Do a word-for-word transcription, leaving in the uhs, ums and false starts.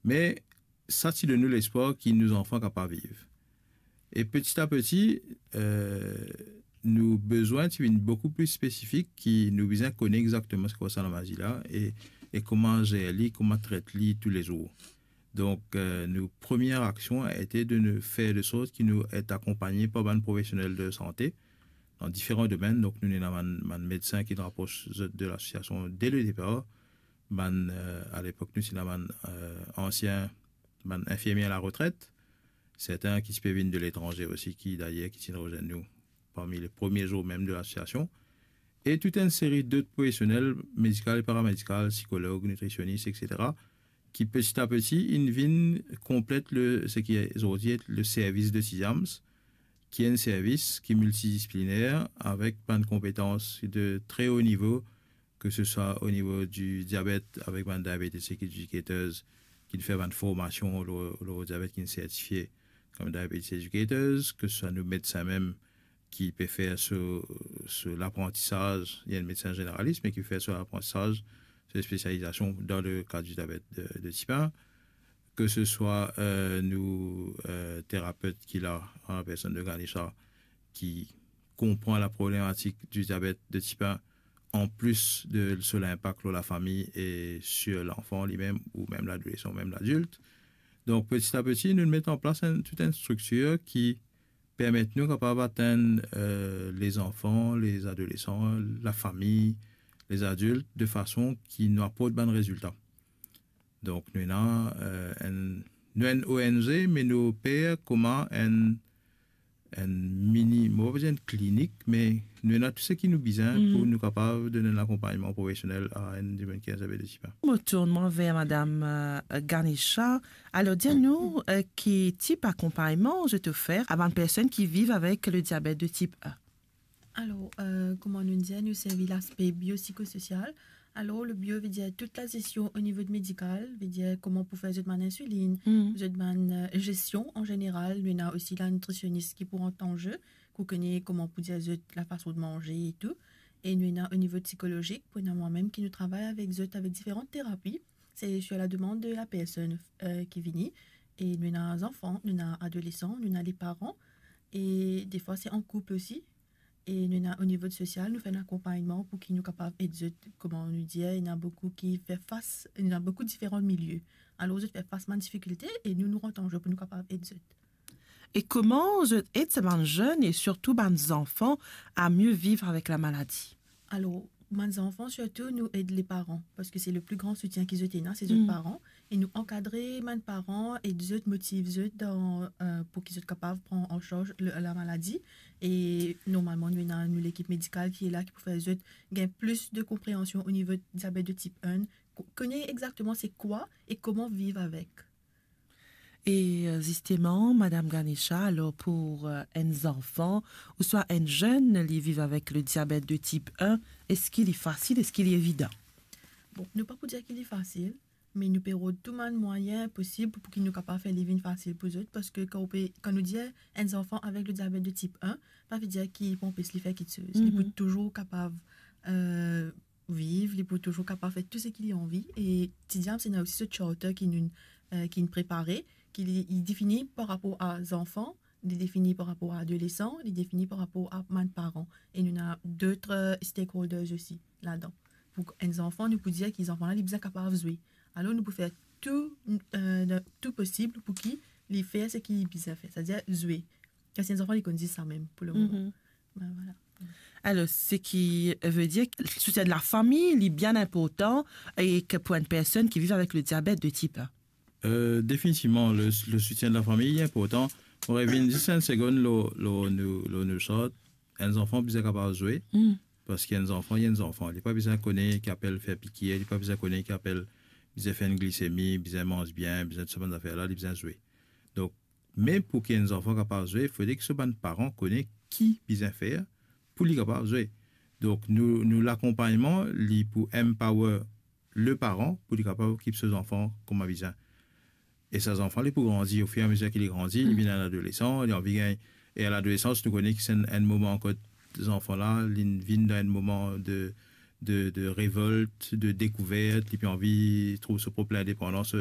Me sa ti donn nou lespwar ki nou zanfan kapav viv. E peti a peti, eh, nou bizin ti vinn boukou pli spesifik, ki nou bizin kone exakteman se kwa sa lamazi la, e, e kouma zer li, kouma tret li toulezour. Donk, eh, nou premie aksion ete de nou fer de sort ki nou et akonpagne par bann profesionel de sante dan diferan domenn. Donk, nou ena bann, bann medsin ki nou apros zot de lasosiasion de le depar. Bann, eh, a lepok, nou ti ena bann, eh, ansien, bann infirmie a laretret, sertin ki ti pe vinn de letranze osi, ki dayer ki ti rezenn nou parmi le premie zour mem de lasosiasion, e tout enn seri dot profesionel medikal e paramedikal, sikolog, nitrisionis, et cetera, ki peti a peti inn vinn konplet le, seki zordi et le servis de Tidiams, ki enn servis ki miltidisipliner avek bann konpetans de tre o nivo, ke se swa o nivo di diabet avek bann diabetes educators ki fer bann formasion lor, lor diabet, ki sertifie kom diabetes educators, ke se swa nou medsin mem ki pe fer so, so laprantisaz, li enn medsin zeneralis, me ki fer so laprantisaz, so spesializasion dan le ka di diabet de, de tip un, ke se swa, eh, nou, eh, terapet ki la, an lapersonn de Ganesha, ki konpran laproblematik di diabet de tip un, an plis de so linpak lor lafami e sir lanfan limem, ou mem ladolesan, ou mem ladilt. Donk, peti a peti, nou met an plas enn, tout enn striktir ki permet nou kapav atenn, eh, lezanfan, lezadolesan, lafami, lezadilt, de fason ki nou aport bann rezilta. Donk, nou ena, eh, enn, nou enn O N G, me nou oper kouma enn, enn mini, mo pa pou dir enn klinik, me nou ena tou seki nou bizin pou nou kapav donn enn lakonpagnman profesionel a enn dimoun ki ena diabet de tip un. Mo tourn mwa ver madam, eh, Ganesha. Alor, dir nou, eh, ki tip akonpagnman zot ofer a bann personn ki viv avek le diabet de tip un? Alor, eh, kouma nou dir, nou servi laspe biopsikososial. Alor, le bio ve dir tout lazesion o nivo de medikal, ve dir kouma pou fer zot bann insilinn, zot bann, eh, zesion an zeneral. Nou ena osi la nitrisionis ki pou rant an ze, pou kone kouma pou dir zot lafason de manze e tou. E nou ena o nivo psikologik, pou ena mwa mem ki nou travay avek zot avek diferan terapi. Se sur la demande de la personn, eh, ki vini. E nou ena zanfan, nou ena adolesan, nou ena le paran. E defwa, se an koup osi. E nou ena o nivo de sosial, nou fer enn akonpagnman pou ki nou kapav ed zot. Kouma nou dir, ena boukou ki fer fas, ena boukou diferan milie. Alor, zot fer fas bann difikilte e nou, nou rant an ze pou nou kapav ed zot. E kouma zot ed sa bann zenn e sirtou bann zanfan a mie viv avek lamaladi? Alor, bann zanfan, sirtou, nou ed le paran, parski se le pli gran soutien ki zot ena, se zot paran. E nou ankadre bann paran, ed zot, motiv zot dan, eh, pou ki zot kapav pran an sarz le, lamaladi. E normalman, nou ena nou lekip medikal ki la, ki pou fer zot gagn plis de konpreansion o nivo diabet de tip un, ko-, kone exakteman se kwa e kouma viv avek. E, eh, zisteman, madam Ganesha, alor pou, eh, enn zanfan ouswa enn zenn, li viv avek le diabet de tip un, eski li fasil, eski li evidan? Bon, nou pa pou dir ki li fasil, me nou pe rod tou bann mwayin posib pou ki nou kapav fer li vinn fasil pou zot, parski kan ou pe, kan nou dir enn zanfan avek le diabet de tip un, pa ve dir ki pou anpes li fer kiksoz. Li pou touzour kapav, eh, viv, li pou touzour kapav fer tou seki li anvi. E Tidiams ena osi so charter ki nou, eh, ki nou prepare, ki li, li defini par rapor a zanfan, li defini par rapor a adolesan, li defini par rapor a bann paran. E nou ena dot, eh, stakeholders osi ladan. Pou enn zanfan, nou pou dir ki zanfan la, li bizin kapav zwe. Alor, nou pou fer tou, eh, tou posib pou ki li fer seki li bizin fer, setadir zwe. Kan se enn zanfan, li konn zis sa mem pou le moman. Be, vwala. Alor, seki ve dir, soutien de lafami, li bien inportan, e ke pou enn personn ki viv avek le diabet de tip un. Eh, definitivman, le, le soutien de lafami, li inportan. Mo revinn zis enn segonn lor, lor nou, lor nou sort. Enn zanfan bizin kapav zwe, parski enn zanfan, li enn zanfan. Li pa bizin kone ki apel fer pikir, li pa bizin kone ki apel bizin fer enn glisemi, bizin manz bien, bizin tou sa bann zafer la, li bizin zwe. Donk, me pou ki enn zanfan kapav zwe, fode ki so bann paran kone ki bizin fer pou li kapav zwe. Donk, nou, nou lakonpagnman, li pou empower le paran pou li kapav okip so zanfan kouma bizin. E sa zanfan, li pou grandi, ofiramezir ki li grandi, li vinn enn adolesan, li anvi gagn, e a ladolesans, nou kone ki se enn, enn moman kot zanfan la, li vinn dan enn moman de, de, de revolt, de dekouvert, li pe anvi trouv so prop lindepandans,